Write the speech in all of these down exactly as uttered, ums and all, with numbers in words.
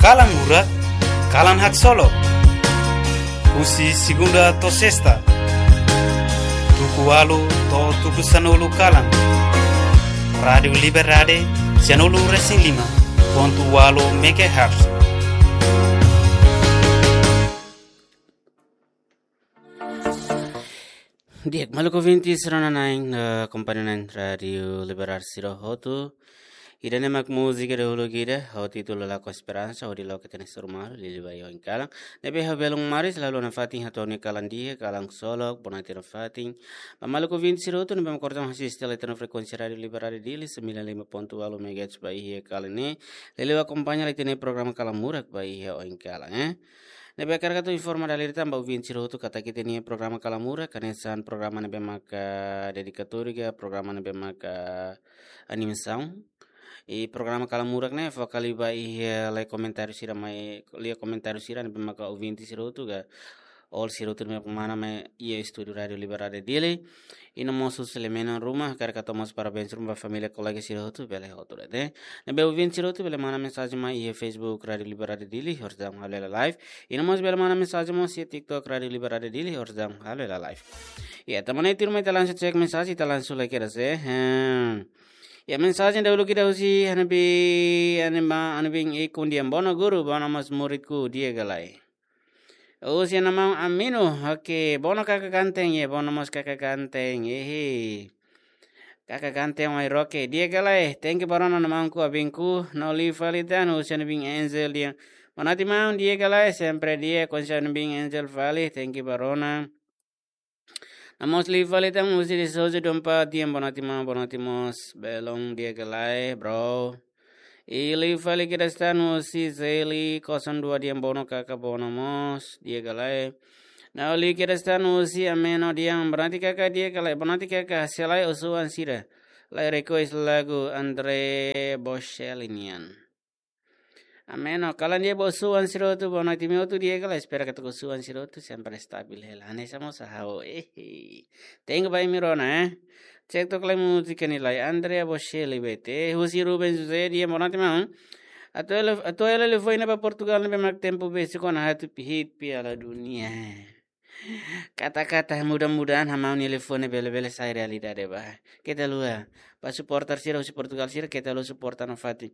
Kalan Murak, kalan haksolok. Husi segunda to'o sesta, tuku ualu to'o tuku sanulu kalan. Rádiu Liberdade, sanulu resin lima pontu ualu megahertz. Di'ak, maluk ouvinte sira-nia na'in, eh, kompañia na'in Rádiu Liberdade sira hotu. Ida-ne'e mak múzika dahuluk ida, ho títulu Lakohi Esperansa, hodi loke ita-nia soru malu, liuliu ba iha oin kalan. Ne'ebé ha'u belun Maris, halo nafatin hato'o nia kalan di'ak, kalan solok, bonate nafatin. Ba maluk ouvinte sira hotu, ne'ebé mak orsida asiste hela ita-nia frekuénsia Rádiu Liberdade Dili, sembilan lima pontu ualu megahertz ba iha kalan ne'e. Liuliu akompaña hela ita-nia programa Kalan Murak ba iha oin kalan, eh. Ne'ebé hakarak atu informa dala ida tan ba ouvinte sira hotu katak ita-nia programa Kalan Murak, hanesan programa ne'ebé maka dedikatóriu ka programa ne'ebé maka animasaun. I programa Kalan Murak ne'e fó kali ba iha lai komentáriu sira mai, lia komentáriu sira ne'ebé maka ouvinte sira hotu ka, all sira hotu ne'ebé mana mai iha estúdiu Rádiu Liberdade Dili. I no mós husi Lemena Ruma, hakarak hato'o mós parabéns ruma ba família kolega sira hotu, bele hotu de'it. Ne'ebé ouvinte sira hotu bele mana mensajen mai iha Facebook Rádiu Liberdade Dili, orsida halo hela live. I no mós bele mana mensajen mós iha TikTok Rádiu Liberdade Dili, orsida halo hela live. Ya, tanba ne'e tuirmai ita langsung cek mensajen, ita langsung lai kedas, eh. Hmm. Ya, mensajen dahuluk ida husi Hanabi, Anima, Anabin Ikun Dian Bono guru, bono mós muridku, di'ak ka lae. Husi nia maun Amino, oke, bono kaka ganteng, ya, bono mós kaka ganteng, ehe. Kaka ganteng, wai roke, di'ak ka lae, thank you ba rona nia maun ku abinku, no liu fali tan, husi Anabin Angel Dian. Bonate maun, di'ak ka lae, sempre di'ak, konsa Anabin Angel fali, thank you ba rona. No mós liu fali tan husi de Souza Dompa Dian, bonate maun, bonate mós, belun, di'ak ka lae, bro. I liu fali kedas tan husi Zeli kosong dua Dian, bono kaka, bono mós, di'ak ka lae. No liu kedas tan husi Ameno Dian, bonate kaka, di'ak ka lae, bonate kaka, se lae osan sira. Lai request lagu Andrea Bocelli nian. Ameno, kalan di'ak ba osan sira hotu, bonate imi hotu, di'ak ka lae, espera katak osan sira hotu sempre stabil hela. Hanesan mós ha'u, eh. Thank you ba imi rona, eh. Cek tok lai múzika ne'e lai, Andrea Bocelli bete, husi Ruben José Dian, bonate maun. Atu ele, atu ele telefone ba Portugal ne'ebé mak tempu besik ona atu hit Piala Dunia. Kata-kata mudah-mudahan ha'u-nia telefone bele-bele sai realidade ba. Keta haluha, ba suporter sira husi Portugal sira, keta haluha suporta nafatin.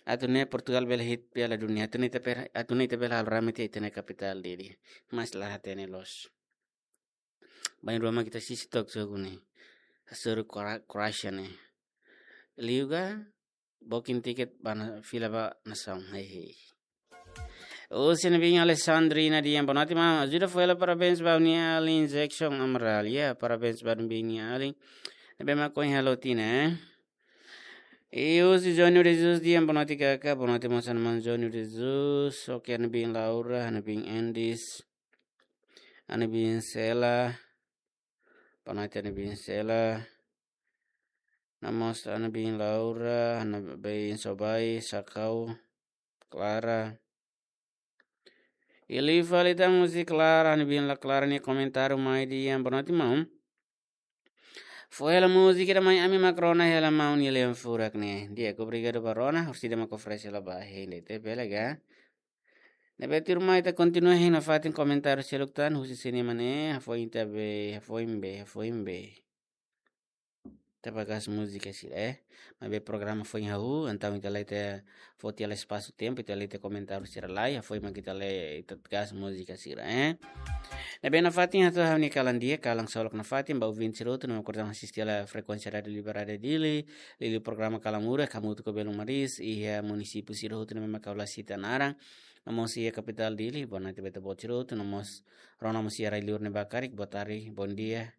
Atu nune'e Portugal bele hit Piala Dunia, atu nune'e ita per-, atu nune'e ita bele halo rame tiha ita-nia kapitál Dili. Mas la hatene loos. Bainrua mak ita sisi tok jogu ne'e. Hasoru Kora-, Croatia ne'e. Liu ka, booking tiket ba na fila ba nasaun, hehe. Husi Anabin Alessandrina Dian, bonate maun, ajuda fó hela parabéns ba ha'u-nia alin Jackson Amaral, ya, parabéns ba Anabin nia alin. Ne'ebé mak ohin halo tinan, eh. I husi Júnior Jesus Dian, bonate kaka, bonate mós nia maun Júnior Jesus, oke, Anabin Laura, Anabin Endis, Anabin Sela, bonate Anabin Sela, no mós Anabin Laura, Anabin Sobai, Sakau, Clara. I liu fali tan husi Clara, Anabin la Clara nia komentáriu mai Dian, bonate maun. Fó hela múzika ida mai Ami Mak Rona Hela Maun Nia Leon Furak ne'e. Di'ak, obrigadu ba rona, orsida mak oferese hela ba hein de'it, bele ka. Ne'ebé tuirmai ita kontinua hein nafatin komentáriu seluk tan, husi sini mane, hafoin ita be, hafoin be, hafoin be. Ita ba gas múzika sira, eh. Maibé programa foin hahú, entaun ita la iha fó tiha lai espasu tempu, ita la iha komentáriu sira lai, hafoin mak ita la iha gas múzika sira, eh. Ne'ebé nafatin hato'o ha'u-nia kalan di'ak, kalan solok nafatin, ba ouvinte sira hotu ne'ebé mak orsida asiste hela frekuénsia Rádiu Liberdade Dili, liuliu programa Kalan Murak, hamutuk ho belun Maris, iha munisípiu sira hotu ne'ebé mak ha'u la sita naran, no mós iha kapitál Dili, bonate ba ita-boot sira hotu, no mós rona mós iha rai-liur ne'ebá karik, boa tarde, bom dia.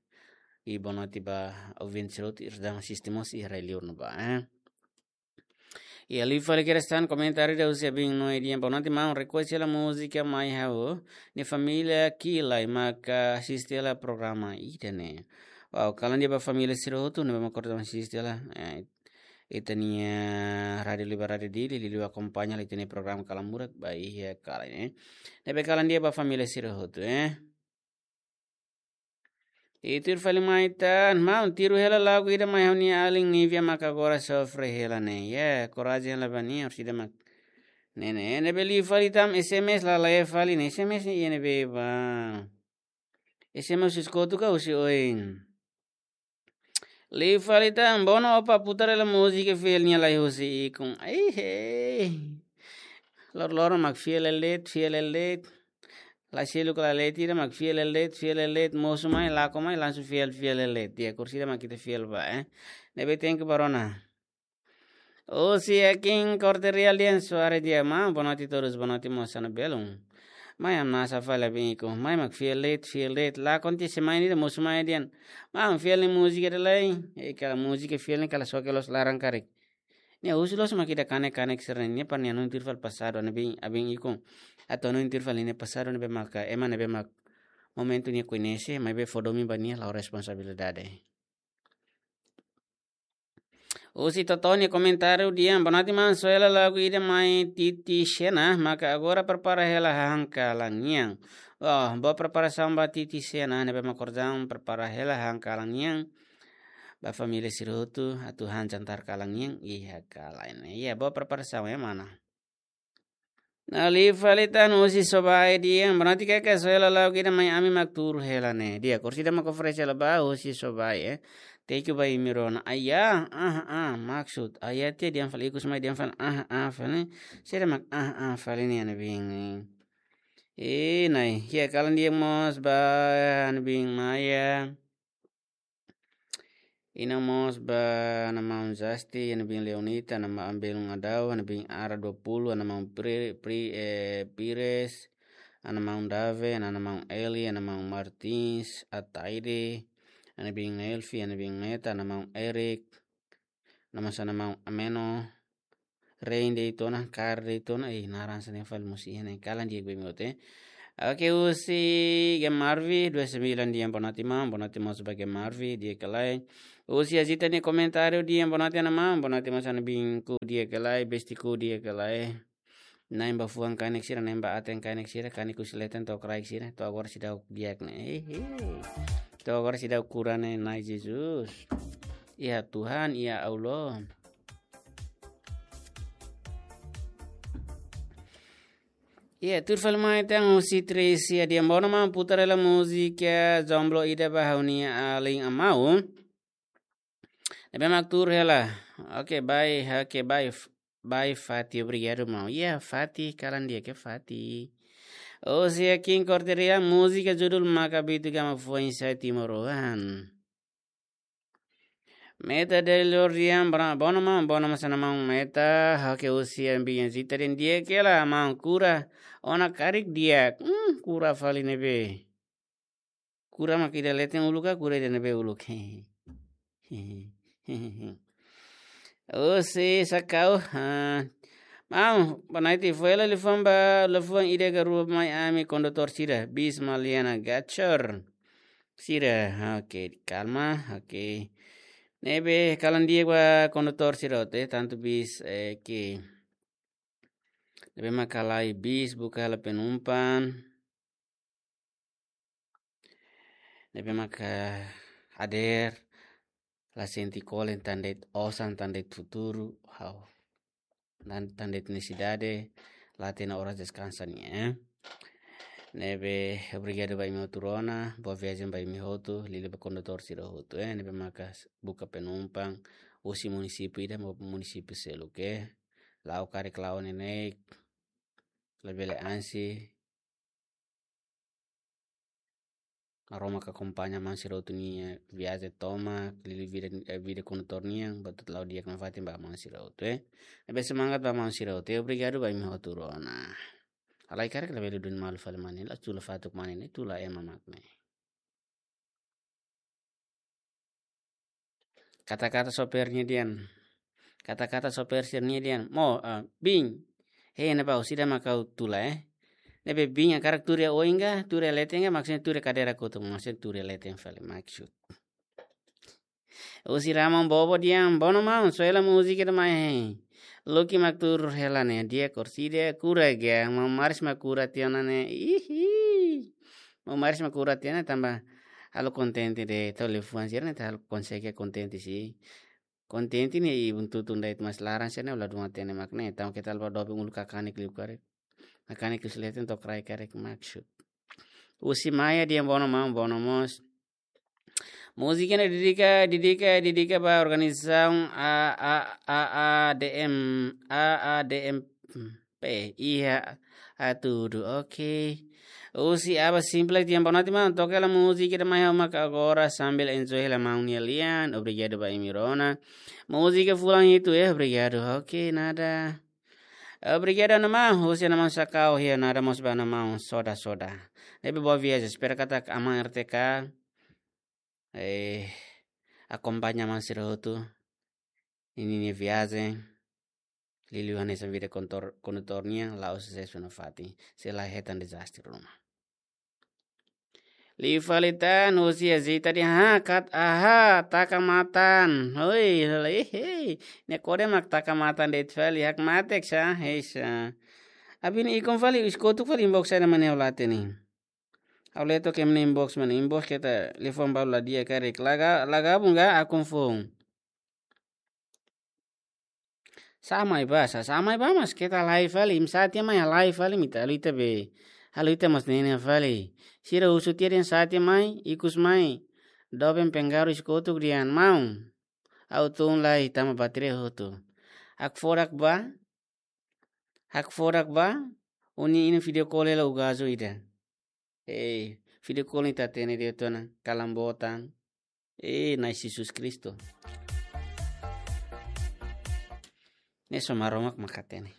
I bonate ba ouvinte sira hotu ne'ebé asiste mós iha rai-liur ne'ebá, eh. I liu fali kedas tan komentáriu ida husi Abin Noe Dian, bonate maun, request hela múzika mai ha'u-nia família ki'ik lai maka asiste hela programa ida-ne'e. Wow, kalan di'ak ba família sira hotu ne'ebé mak orsida asiste hela, eh, ita-nia Rádiu Liberdade Dili, liuliu akompaña hela ita-nia programa Kalan Murak ba iha kalan ne'e. Ne'ebé kalan di'ak ba família sira hotu, eh. I tuir fali mai tan, maun, tiru hela lagu ida mai ha'u-nia alin Nívia maka agora sofre hela ne'e. Ya, korajen hela ba nia, orsida mak Ne'e ne'e, ne'ebé liu fali tan S M S la lee fali ne'e S M S ne'e iha ne'ebé ba. S M S husi kotuk ka husi oin. Liu fali tan, Bono opa putar hela múzika fiel nia lai husi ikun. Ai, hei. Lor-loron mak fiel hela de'it, fiel hela de'it. Lai seluk la lee tiha mak fiel hela de'it, fiel hela de'it. Mosu mai, lakon mai, langsung fiel, fiel hela de'it. Di'ak, orsida mak ita fiel ba, eh. Ne'ebé thank you ba rona. Husi Akin Korte Real dehan suara di'ak, maun, boa noite todos, boa noite mós, hanesan belun. Mai hamnasa fali ba ikun, mai mak fiel de'it, fiel de'it, lakon tiha, se mai nia mosu mai dehan. Maun, fiel nia múzika ida lai, e kala múzika fiel ne'e kala soke loos laran karik. Nia husu loos mak ida kanek-kanek sira-ne'e, nia para nia hanoin tuir fali pasadu, ne'ebé, abin ikun. Atu hanoin tuir fali nia pasadu, ne'ebé maka, ema ne'ebé mak momentu nia koñese, maibé fó domin ba nia la'o responsabilidade. Husi Totó nia komentáriu dehan, boa noite maun, soe hela lagu ida mai Titi Xena, maka agora prepara hela hahán kalan nian. Oh, boa preparasaun ba Titi Xena, ne'ebé mak kordaun prepara hela hahán kalan nian. Ba família sira hotu, atu han jantar kalan nian, iha kalan. Iya, boa preparasaun, eh, mana. Liu fali tan husi Sobai dehan, boa noite kaka, soe hela lagu ida mai ami mak tuur hela ne'e. Di'ak, orsida mak oferese hela ba husi Sobai, eh. Thank you ba imi rona. Aya, ah, ah, maksud. Aya tiha dehan fali ikus mai dehan fali, ah, ah, fali. Sira mak, ah, ah, fali ne'e, hanesan belun. Eh, nai. Iha kalan di'ak mós ba, hanesan belun Maya. Inan mós ba hanesan maun Zasti, hanesan belun Leonita, hanesan maun belun Adau, hanesan belun Ara dua puluh, hanesan maun Pri-, Pri-, eh, Pires, hanesan maun Dave, hanesan maun Eli, hanesan maun Martins, Ataide, hanesan belun Elvi, hanesan belun Meta, hanesan maun Erik, hanesan maun Ameno, Rein de'it ona, Kar de'it ona, eh, naran sira-ne'e fali mós iha ne'e, kalan di'ak ba imi hotu, eh. Oke, husi Gemarvi dua sembilan dehan boa noite maun, boa noite mós ba Gemarvi, di'ak ka lae. Husi Azita nia komentáriu dehan boa noite hanesan maun, boa noite mós hanesan belunku, di'ak ka lae, bestiku, di'ak ka lae. Na'in ba fuan kanek sira, na'in ba aten kanek sira, kanek husi leten to'o kraik sira, to'o agora seidauk di'ak ne'e. Hehe. To'o agora seidauk kura ne'e, Na'i Jesus. Iha Tuhan, iha Allah. Iya, tuir fali mai tan husi Tracy dehan bono maun putar hela múzika Jomblo ida ba ha'u-nia alin amau. Ne'ebé mak tuur hela. Oke, bye, oke, bye, f-, bye, Fati, obrigadu, maun. Iya, Fati, kalan di'ak ka Fati. Husi Akin Korte Real, múzika judul Maka Bitu Gama Fuan Sai Timoroan. Meta Delor dehan bra-, bono maun, bono maun hanesan maun Meta, oke, husi Ambiente Zita dehan di'ak hela, maun, kura ona karik di'ak. Hmm, kura fali ne'ebé. Kura mak ida leten uluk ka, kura ida ne'ebé uluk. Husi Sakau, ha. Maun, boa noite, fó hela liafuan ba, liafuan ida ka rua mai ami kondutór sira, bis Maliana Gachor. Sira, oke, kalma, oke. Ne'ebé kalan di'ak ba kondutór sira hotu, eh, tantu bis, eh, ke. Ne'ebé maka la'o iha bis, buka hela penumpang. Ne'ebé maka hadeer, la sente kolen, tan de'it osan, tan de'it futuru, ha'u. Tan, tan de'it nesesidade, la hatene oras deskansa nian, eh. Ne'ebé, obrigadu ba imi hotu rona, boa viajen ba imi hotu, liuliu ba kondutór sira hotu, eh. Ne'ebé maka buka penumpang, husi munisípiu ida ba munisípiu seluk, eh. La'o karik la'o neineik, labele ansi, Maromak akompaña maun sira hotu nia viajen tomak, liuliu vida, eh, vida kondutór nian, buat hotu la'o di'ak nafatin ba maun sira hotu, eh. Ne'ebé semangat ba maun sira hotu, eh, obrigadu ba imi hotu rona. Halai karik labele duni malu fali mane, la tula fatuk mane ne'e, tula ema mak ne'e. Kata-kata sopir nia dehan. Kata-kata sopir sira-nia dehan. Mo, ah, bin. Hei, ne'ebá orsida mak ha'u tula, eh. Ne'ebé bin hakarak tuur iha oin ka, tuur iha leten ka, maksudnya tuur iha kadeira kotuk, maksudnya tuur iha leten fali, maksud. Husi Ramon Bobo dehan, bono maun, soe hela múzika ida mai, hei. Lucky mak tuur hela ne'e, di'ak orsida, kura ga, maun Maris mak kura tiha ona ne'e, ihi. Maun Maris mak kura tiha ona ne'e, tanba halo kontente de'it, atu liafuan sira ne'e, atu halo konsege kontente sira. Kontente ne'e ibun tutun de'it, mas laran sira-ne'e la dún hatene mak ne'e. Entaun keta la bá doben uluk kakanek liu karik. Kakanek liu leten to'o kraik karik maksud. Husi Maia dehan bono maun, bono mós. Múzika ne'e dedika, dedika, dedika ba organizasaun A, A, A, A D M, A, A D M P, iha hatudu, oke. Husi Aba Simples dehan boa noite maun, toka hela múzika ida mai ha'u mak agora sambil enjoy hela maun nia lian. Obrigadu ba imi rona. Múzika fulan hitu, eh, obrigadu. Oke, nada. Obrigadu, Ana Maun. Husi Ana Maun Sakau, iha nada mós ba Ana Maun Soda Soda. Ne'ebé boa viajen, espera katak aman R T K eh, akompaña maun sira hotu ninia viajen. Liuliu hanesan vida kontor-, kondutór nian, la'ós susesu nafatin. Sei la hetan dezastre ruma. Liu fali tan, husi Azita dehan, ha, kat, aha, taka matan. Hoi, hei, hei. Ne'e kode mak taka matan de'it fali, hakmatek sá, hei sá. Abin ikun fali, husi kotuk fali inbox saida mak ne'e ha'u la hatene. Ha'u leto ke mene inbox mana inbox keta telefone balu la di'ak karik. La ga-, la gabung ga akun foun. Sá mai bá, sá, sá mai bá mas keta live fali. Imi sá tiha mai live fali, imi ita halo ita be. Halo ita mas ne'e ne'e fali. Sira husu tiha dehan sá tiha mai, ikus mai. Doben pengaruh husi kotuk dehan maun. Ha'u tun lai tanba bateria hotu. Hakfodak bá, hakfodak bá, ó-nia inan video call hela ugazu ida. Eh, video call ne'e ita hatene de'it ona, kalan boot an. Eh, Na'i Jesus Kristu. Ne'e só Maromak mak hatene.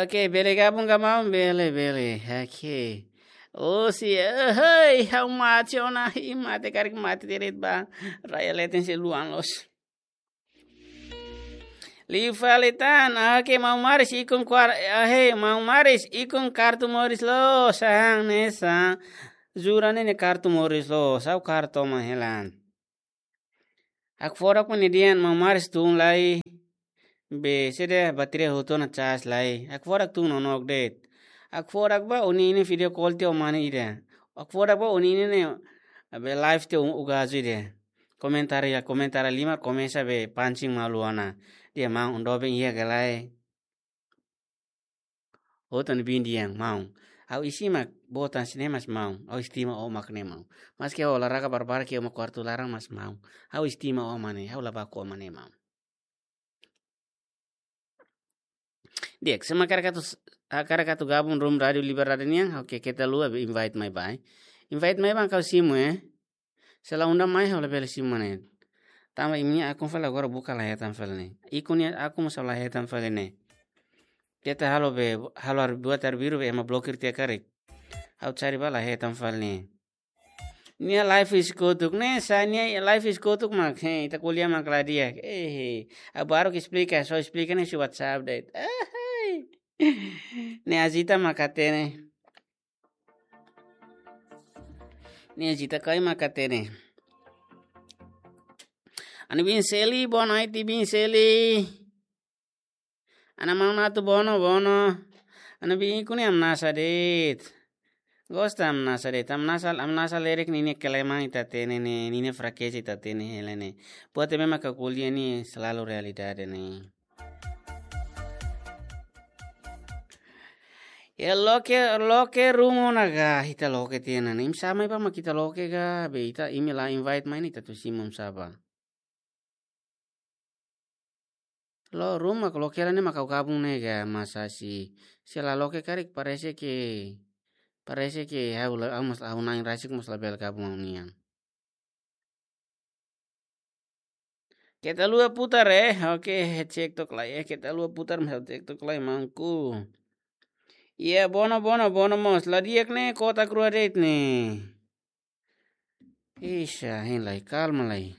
Oke, bele gabung ka maun, bele, bele. Oke. Oh, si, eh, hei, ha'u mate ona, ih, mate karik mate direto ba. Raya leten sei luan loos. Liu fali tan, ah, ke maun Maris ikun kuar, ah, he, maun Maris ikun kartu moris loos, ah, hanesan. Jura ne'e ne'e kartu moris loos, ha'u kartu ma helan. Hakfodak mak ne'e dehan maun Maris tun lai, be, sede bateria hotu ona cas lai. Hakfodak tun nonook de'it. Hakfodak bá ó-nia inan video call tiha ó mane ida. Hakfodak bá ó-nia inan ne'e, be, live tiha ó ugazu ida. Komentar iha, komentar lima komesa be pancing malu ona. Dehan maun, ó doben iha ka lae. Hotu ne'ebé dehan maun. Ha'u isin mak boot an sira-ne'e mas maun. Ha'u estima ó mak ne'e maun. Maski ha'u olahraga barbarak iha ó-nia kuartu laran mas maun. Ha'u estima ó mak ne'e, ha'u la baku ó mak ne'e maun. Di'ak, se mak hakarak atu s-, hakarak atu gabung room Rádiu Liberdade nian, oke, keta haluha be invite mai bá. Invite mai bá ha'u simu, eh. Se la unda mai ha'u labele simu mak ne'e. Tanba imi-nia akun fali agora buka la hetan fali ne'e. Ikun nia akun mós la hetan fali ne'e. Keta halo be, halo ar-, buat arbiru be ema blokir tiha karik. Ha'u cari bá la hetan fali ne'e. Nia live husi kotuk ne'e, sá nia live husi kotuk mak, he, ita ko'alia mak la di'ak. Eh, he. Ha'u baru ke esplika, só esplika ne'e husi WhatsApp de'it. Ah, hai. Ne'e Azita mak hatene. Ne'e Azita karik mak hatene. Ana Binseli, boa noite, Binseli. Ana maun atu bono, bono. Ana biin ikun ne'e hamnasa de'it. Gosta hamnasa de'it. Hamnasa, hamnasa lerek ninia kelemahan ita hatene ne'e, ninia frakeza ita hatene hela ne'e. Buat ne'ebé mak ha'u ko'alia ne'e selalu realidade ne'e. Ya loke, loke room ona ga, ita loke tiha ona ne'e. Imi sá mai bá mak ita loke ga, be ita imi la invite mai ne'e ita atu simu imi sá bá. Lo room mak loke hela ne'e mak ha'u gabung ne'e ga, mas asi. Se la loke karik parese ke, parese ke ha'u la, ha'u mós ha'u-nia na'in rasik mós labele gabung ha'u-nian. Keta haluha putar, eh. Oke, cek tok lai, eh. Keta haluha putar, mas cek tok lai, maunku. Iya, bono, bono, bono mós. La di'ak ne'e, kotak rua de'it ne'e. Ixa, hein lai, kalma lai.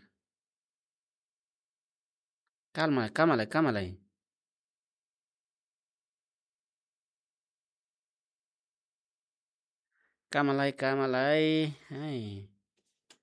Kalma, kalma lai, kalma lai. Kalma lai, kalma lai. Ai.